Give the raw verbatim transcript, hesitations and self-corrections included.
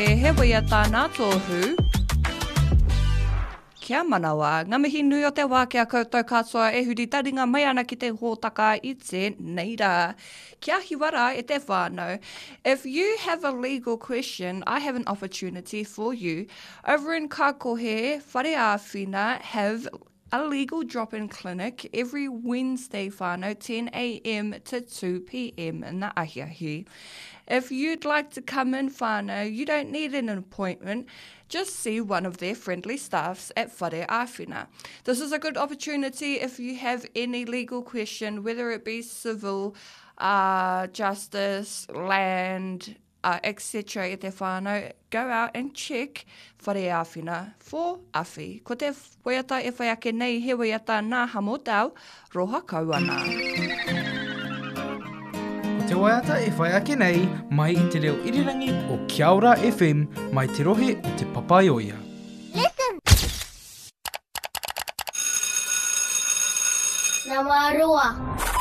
He waiata nā Tohu. Kia manawa, ngā mihi nui o te wā ki a koutou katoa e huri taringa mai ana ki te hōtaka i tēnei rā. Kia hiwa rā e te whānau. If you have a legal question, I have an opportunity for you. Over in Kakohe, Whare Āwhina have a legal drop-in clinic every Wednesday whānau, ten A M to two P M in the ahiahi. If you'd like to come in whānau, you don't need an appointment. Just see one of their friendly staffs at Whare Āwhina. This is a good opportunity if you have any legal question, whether it be civil, uh, justice, land, uh, et cetera e te whānau, go out and check Whare Āwhina for awhi. Ko te waiata e whai ake nei he waiata nā Hamotau, Roha Kauana. Ko te waiata e whai ake nei mai i te reo irirangi o Kia Ora F M mai te rohe o Te Papaioea. Listen. Nama roa.